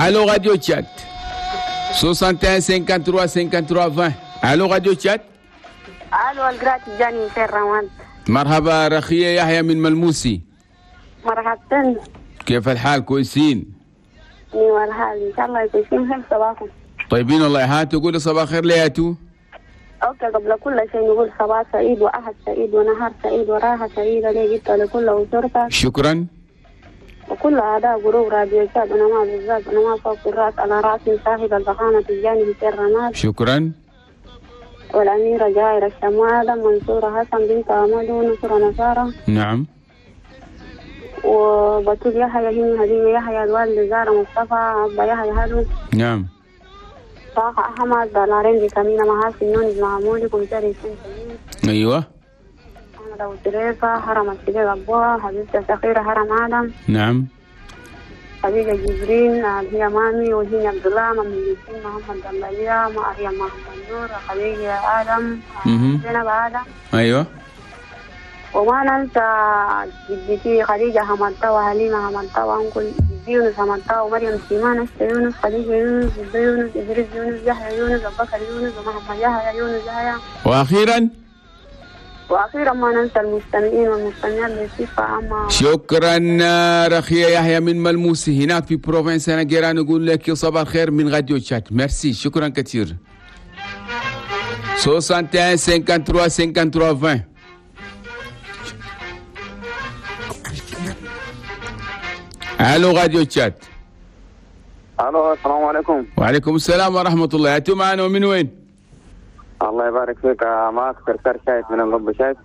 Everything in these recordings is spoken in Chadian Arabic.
Allô Radio Tchad 61 53 53 20. Allô Radio Tchad. الو القرات جاني في الروان. مرحبا رخية يحيى من ملموسي. مرحبتين. كيف الحال كويسين؟ ايوه الحال ان شاء الله كويسين. كيف صباحكم؟ طيبين والله. ها تقول صباح خير لياتو؟ okay قبل كل شيء نقول صباح سعيد واحد سعيد ونهار سعيد وراحة سعيدة لي جبت لكل اسرتك. شكرا. وكل اعداء groupe راديو تشاد انا ما بالذات انا ما فوق الراس على راسي صاحب الفخامة الجاني في الرماد. شكرا. والأميرة جائرة الشمالة منصورة حسن بنت أمدو نصرة نصارى. نعم. وبتول يحيى هيم هديم يحيى الوالد زارة مصطفى أبا يحيى هادو. نعم. طه أحمد بلارين بكمينة محاسن نونز معمولي كمساري سنسين. أيوة. أحمد أبو تريفة حرم السبيل أبوها حبيبتي الصغيرة حرم آدم. نعم. خديجة جبرين هي مامي وهي عبد الله مامي ياسين محمد دمبلية مريم محمد نور خديجة آدم زينب آدم. أيوة. وما ننسى جدتي خديجة حمدتا وحليمة حمدتا وأنكل يونس حمدتا ومريم سيمان أشتا يونس خديجة يونس جدة يونس إدريس يونس يحيى يونس أبو بكر يونس ومحمد يحيى يونس يحيى. وأخيرا ما ننسى المستمعين والمستمعات بصفة عامة. شكرا رخية يحيى من ملموسي هناك في province أنا نقول لك صباح الخير من راديو تشاد. ميرسي شكرا كثير. 61 53 53 20. الو راديو تشاد. الو السلام عليكم. وعليكم السلام ورحمة الله. أنتم معنا ومن وين؟ الله يبارك فيك. معك سرسار شايف من الغب شايف.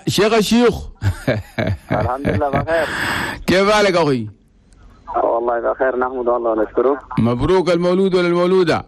شيخ الشيوخ. الحمد لله بخير. كيف حالك اخوي؟ والله بخير نحمد الله ونشكره. مبروك المولود ولا المولودة؟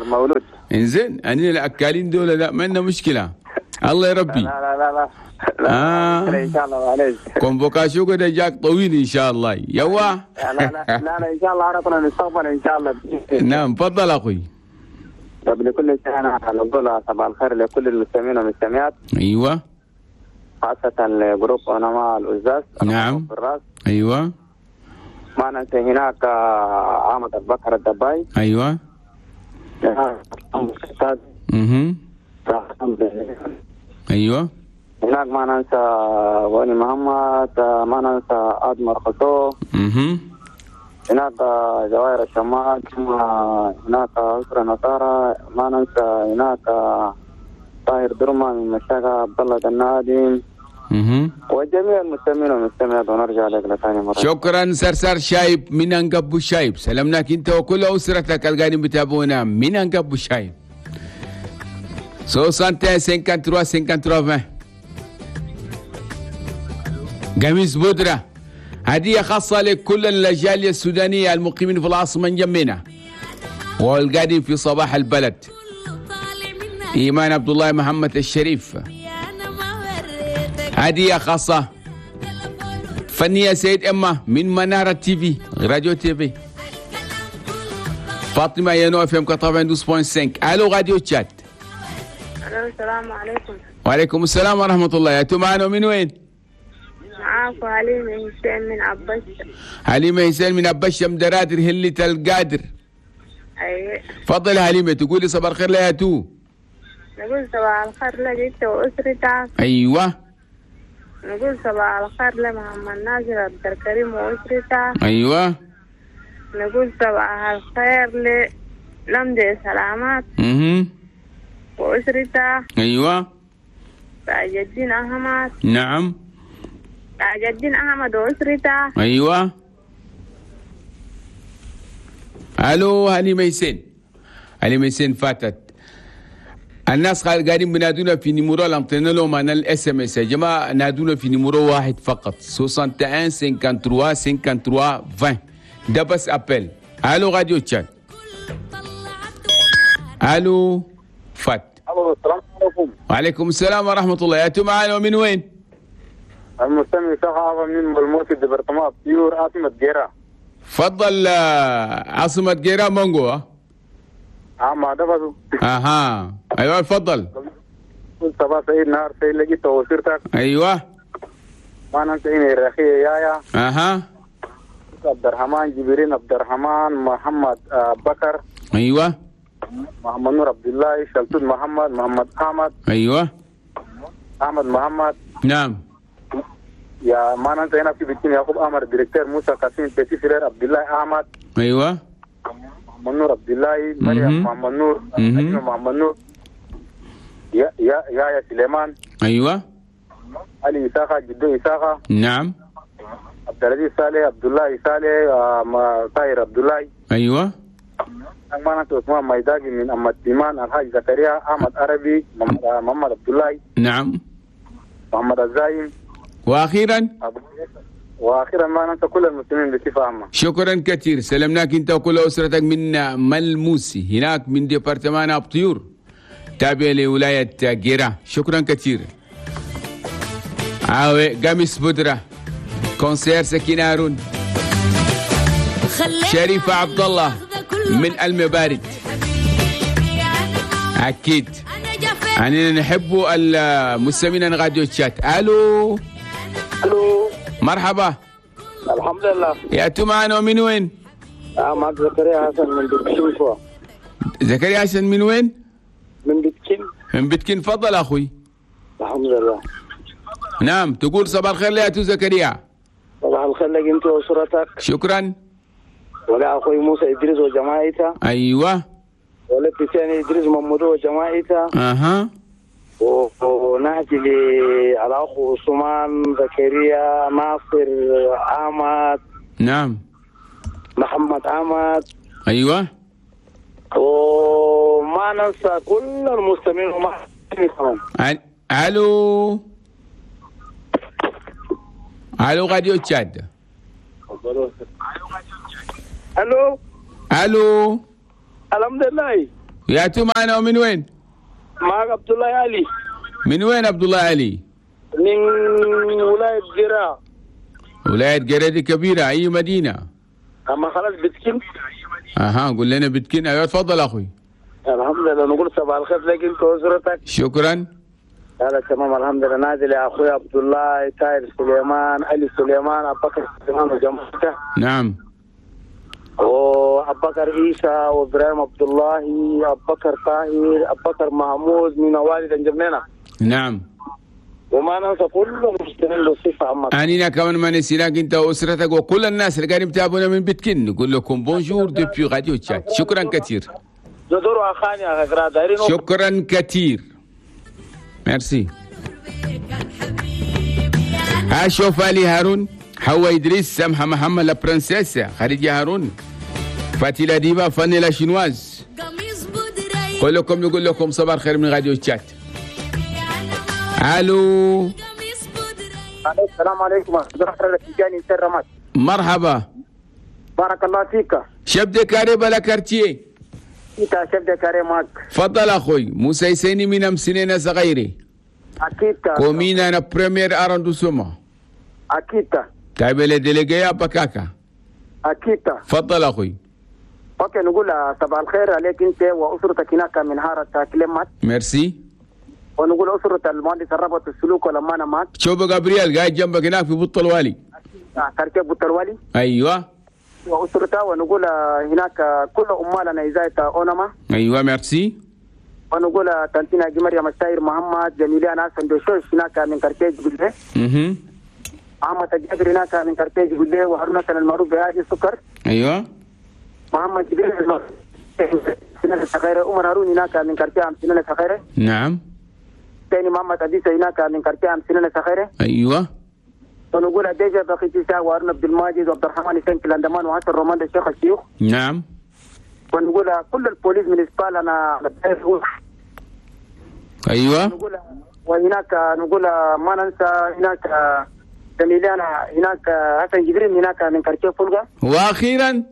المولود. انزين أنا الاكالين دول لا ما عندنا مشكلة. الله يربي. لا لا لا لا. لا ان شاء الله معلش. convocation كده جاك طويل ان شاء الله. يوا. لا لا لا لا ان شاء الله عرفنا نستقبل ان شاء الله. نعم تفضل اخوي. قبل كل شيء أنا نقول صباح الخير لكل المستمعين والمستمعات. أيوة. خاصة ل groupe أنما الأزاز. نعم. أيوة. ما ننسى هناك عامة البكر الدباي. أيوة. أيوة. هناك ما ننسى وني محمد، ما ننسى أدمر خطو. هناك جوائر الشمال، هناك أسرة نصارى، ما ننسى هناك طاهر درما من مشاكة عبد الله النادم وجميع المستمعين والمستمعات. ونرجع لك لثاني مرة. شكرا سرسار شايب من أنقب شايب. سلامناك أنت وكل أسرتك القادم بتابعونا من أنقب شايب. 61 53 53 20. قميص بودرة هدية خاصة لكل الجالية السودانية المقيمين في العاصمة نجمينا والقادم في صباح البلد. إيمان عبد الله محمد الشريف هدية خاصة فنية سيد إما من منارة TV راديو TV. فاطمة ينو FM 92.5. الو راديو تشاد. الو السلام عليكم. وعليكم السلام ورحمة الله. أنتم معنا من وين؟ معاكم حليمة حسين من أبشة. حليمة حسين من أبشة مدرادر هلة القادر. أيوة. تفضل حليمة تقولي صباح الخير ليا تو. نقول صباح الخير لك أنت وأسرتك. أيوة. نقول صباح الخير لمحمد ناصر عبد الكريم وأسرته. أيوة. نقول صباح الخير للمدي سلامات. وأسرته. أيوة. تاج الدين أحمد. نعم. تاج الدين أحمد وأسرته. أيوة. ألو هاني ميسين. هاني ميسين فاتت. الناس قاعدين بنادونا في numéro اللي لهم انا ال SMS يا جماعه، نادونا في numéro واحد فقط 61 53 53 20 ده بس appel. الو راديو تشاد. الو فات. الو السلام عليكم. وعليكم السلام ورحمه الله. يا معانا ومن وين؟ المستمع شخص من ملموس département بيور عاصمه جيرا. تفضل. عاصمه جيرا مونغو. ما ده بس. اها ايوه تفضل. صباح سعيد نهار سعيد لقيت وسيرتك. ايوه. ما ننسى الرخية يايا. اها. عبد الرحمن جبرين عبد الرحمن محمد بكر. ايوه. محمد نور عبد الله شلتون محمد محمد احمد. ايوه. احمد محمد. نعم. يا ما ننسى هنا في بيتين يعقوب احمد directeur موسى قاسم petit frère عبد الله احمد. ايوه. محمد نور عبد الله مريم محمد نور محمد نور يا يا يا سليمان. ايوه. علي إساقة جدو إساقة. نعم. عبد العزيز صالح عبد الله صالح طاهر عبد الله. ايوه. أمانة عثمان ميداقي من أم الديمان الحاج زكريا أحمد عربي محمد عبد الله. نعم. محمد الزايم. واخيرا واخيرا ما ننسى كل المسلمين بصفة عامة. شكرا كثير، سلمناك انت وكل اسرتك من ملموسي هناك من département ابطيور تابع لولاية جيرا. شكرا كثير. عاوي قميص بدره conseillère سكينة هارون شريفة عبد الله من المبارد. اكيد يعني نحب المستمعين راديو تشات. الو الو مرحبا. الحمد لله. يا معنا من وين؟ معك زكريا حسن من بتكين. زكريا حسن من وين؟ من بتكين. من بتكين. تفضل اخوي. الحمد لله. نعم تقول صباح الخير ليا زكريا. صباح الخير لك انت واسرتك. شكرا. ولا اخوي موسى ادريس وجماعته. ايوه. ولا ثاني ادريس محمود وجماعته. اها. ونهجي للاخ عثمان زكريا ناصر احمد. نعم. محمد احمد. ايوه. وما ننسى كل المستمعين وما كمان. الو الو راديو تشاد. الو الو. الحمد لله. يا معنا ومن وين؟ معك عبد الله علي. من وين عبد الله علي؟ من ولاية جراء. ولاية جراء دي كبيرة، أي مدينة؟ أما خلاص بتكين. أها قول لنا بتكين. أيوة تفضل أخوي. الحمد لله. نقول صباح الخير لك أنت وأسرتك. شكرا. هذا تمام الحمد لله. نازل يا أخوي عبد الله تاير سليمان علي سليمان أبو بكر سليمان وجماعته. نعم. وأبو بكر عيسى وإبراهيم عبد الله أبو بكر طاهر أبو بكر محمود من والد انجمينا. نعم. وما ننسى كل المسلمين بصفة عامة. أنينا كمان ما نسيناك أنت وأسرتك وكل الناس اللي قاعدين يتابعونا من بيتكن. نقول لكم bonjour depuis راديو تشاد. شكرا كثير. شكرا كثير. ميرسي. أشوف علي هارون حوا إدريس سمحة محمد la princesse خديجة هارون فاتيلا ديبا فاني la chinoise. كلكم نقول لكم صباح الخير من راديو تشات. الو السلام عليكم. مرحبا. بارك الله فيك. chef de carré بلا quartier. انت chef de carré معك. تفضل اخوي موسى يسيني من امسنين صغيري. اكيد. commune انا premier arrondissement. اكيد. تابع ل délégué بكاكا. اكيد. تفضل اخوي. OK نقول صباح الخير عليك انت واسرتك هناك من هارة كلمات. ميرسي. ونقول اسرة المهندس الربط السلوك ولما انا معك. شوف جابرييل قاعد جنبك هناك في بط الوالي. quartier بط الوالي. ايوه. واسرته ونقول هناك كل عمالنا ازاية اونما. ايوه ميرسي. ونقول تنتينا مريم الساير محمد جميلة سندوشوش هناك من quartier جبله. احمد الجابر هناك من quartier جبله وهارون المعروف بهادي السكر. ايوه. محمد جبريل سنة الصغيرة عمر هارون هناك من quartier عم سنة الصغيرة. نعم. ثاني محمد أديسة هناك من quartier عم سنة الصغيرة. ايوه. ونقول ديجا بقيت وهارون عبد الماجد وعبد الرحمن حسين كلاندمان وعسر رومان الشيخ الشيوخ. نعم. ونقول كل ال police municipale انا. ايوه. نقول وهناك نقول ما ننسى هناك زميلنا هناك حسن جبريل هناك من quartier فولغا. واخيرا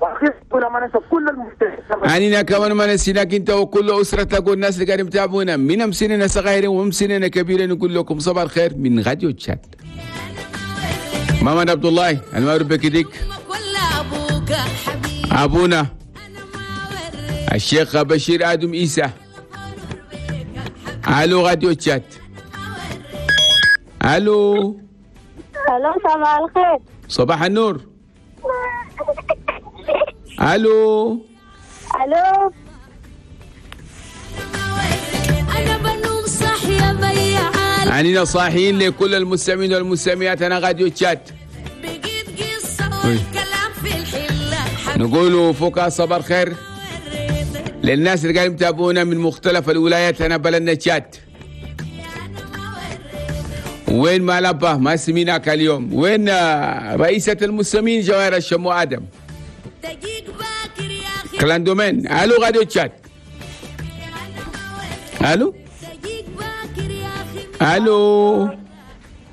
واخيرا ما ننسى كل المستمعين. عنينا كمان ما نسيناك انت وكل اسرتك والناس اللي قاعدين يتابعونا من مسننا صغيرين ومسننا كبيرين. نقول لكم صباح الخير من راديو تشات. محمد عبد الله المعروف بكديك ابونا الشيخ بشير ادم عيسى. الو راديو تشات. الو الو صباح الخير. صباح النور. الو الو. انا بنوم صح يا بيعال. عنينا صاحيين لكل المستمعين والمستمعات. انا راديو تشاد بقيت قصة والكلام في الحلة. نقولوا فوق صبر خير للناس اللي قاعدين يتابعونا من مختلف الولايات. انا بلدنا تشاد. وين ما لبه ما سميناك اليوم؟ وين رئيسة المستمعين جواهر الشمو آدم؟ كلاندومين. الو راديو تشاد. الو الو.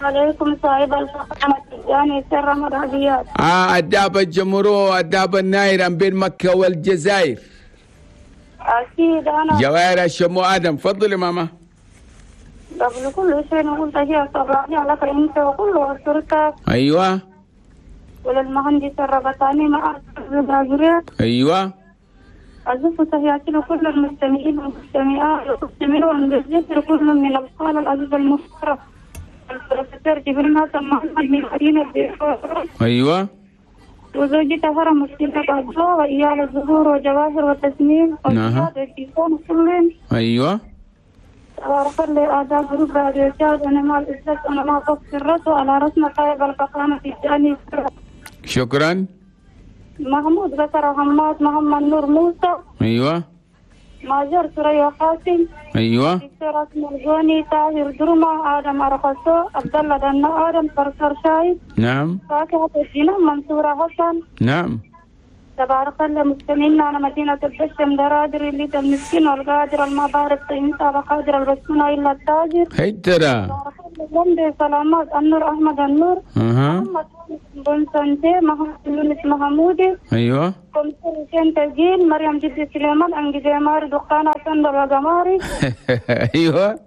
عليكم صاحب الفخامة يعني سر مرحبيات. الدابة الجمهورية الدابة النايرة بين مكة والجزائر. أكيد أنا جواهر الشمو آدم. تفضلي ماما. قبل كل شيء نقول تحية صباحية لك أنت وكل أسرتك. أيوة. وللمهندس الربطاني مع البراجرية. أيوة. أزف تحياتي لكل المستمعين والمستمعات والمستمعين بالذكر كل من القال العزيز المحترم البروفيسور جبريل حسن محمد من مدينة بيروت. أيوة. وزوجته هرم السيدة عبدو وإيال الزهور وجواهر وتسنيم نعم. والكيسان كلهم. أيوة. تبارك الله آداب جروب راديو تشاد. أنا مع الإسلاس أنا مع قص الرأس وعلى رأسنا صاحب الفخامة الثاني. شكرا. محمود بكر حماد محمد نور موسى. أيوة. ماجر ثريا قاسم. أيوة. دكتور أسمر الجوني طاهر درمة آدم أرخصو عبد الله دنا آدم صرصر شايب. نعم. فاكهة الجنة منصورة حسن. نعم. تبارك الله مستمعين على مدينة البشم درادر اللي المسكين والقادر المبارك طينتا وقادر البسمنة إلا التاجر. هيترا. تبارك الله سلامات النور أحمد النور. محمد بن سنتي محمد يونس محمودي. أيوة. كمسر حسين تجيل مريم جدي سليمان أنجزي ماري دقانة سندل وقماري. أيوة.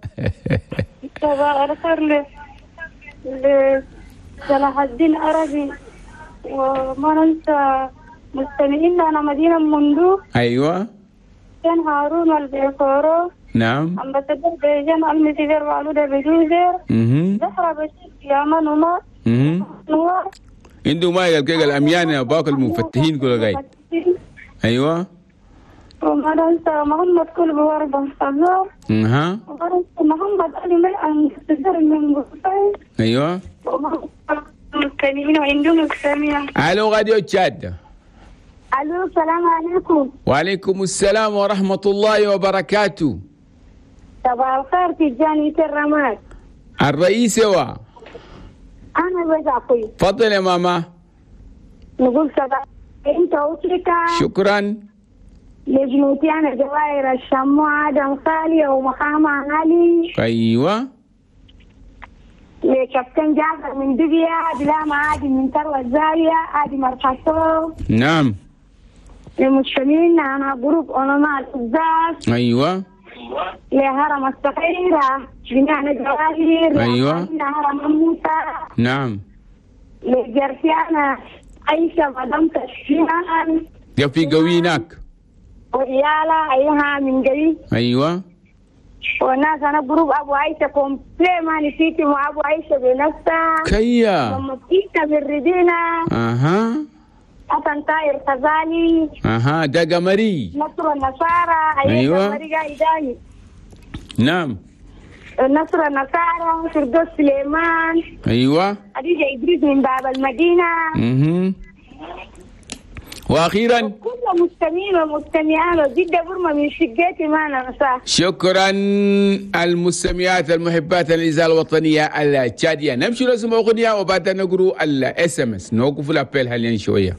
تبارك الخير لصلاح الدين عربي وما ننسى مستمعين أنا مدينة مندو. أيوة. كان هارون والبيكورو. نعم. أمبسدر بيجان المسيفير وعلودة بجوزير. زهرة بشير يامان وما. نوار. عنده ما يلقى الأميان باقي المفتحين كل غاي. أيوة. وما ننسى محمد كل بوربة فزور. أها. وما ننسى محمد علي من أمبسدر من بوفاي. أيوة. مستمعين وعندهم مستمعين. ألو راديو تشاد. الو السلام عليكم. وعليكم السلام ورحمة الله وبركاته. صباح الخير تجاني الرماد. الرئيس هو أنا بس أخوي. تفضل يا ماما. نقول صباح أنت وأسرتك. شكرا. لجنوتي أنا جواهر الشمو آدم خالي ومقام علي. أيوة. لكابتن جعفر من دبيا بلا معادي من ثروة الزاوية آدي مرحصو. نعم. للمستمعين أنا جروب علماء الإزاز. أيوة. لهرم الصغيرة جميعنا جواهر. أيوة. هرم موسى. نعم. لجرسيانا عايشة مدام تشفيان. يا في قويناك. وإيالا أيها من قوي. أيوة. والناس أنا جروب أبو عيشة كومبلي ما نسيتي مع أبو عيشة بنفسها. كيا. لما بتيتا بالردينة. أها. حسن طاير خزالي. أها ده قمري. نصر النصارى. أيوة. قمري قايداني. نعم. نصر النصارى فردوس سليمان. أيوة. خديجة إدريس من باب المدينة. واخيرا كل مستمعين ومستمعات وجدة برمة من شقتي ما ننساه. شكرا المستمعات المحبات للإذاعة الوطنية التشادية. نمشي نسمع أغنية وبعدها نقرأ ال SMS. نوقف ال appel حاليا شوية.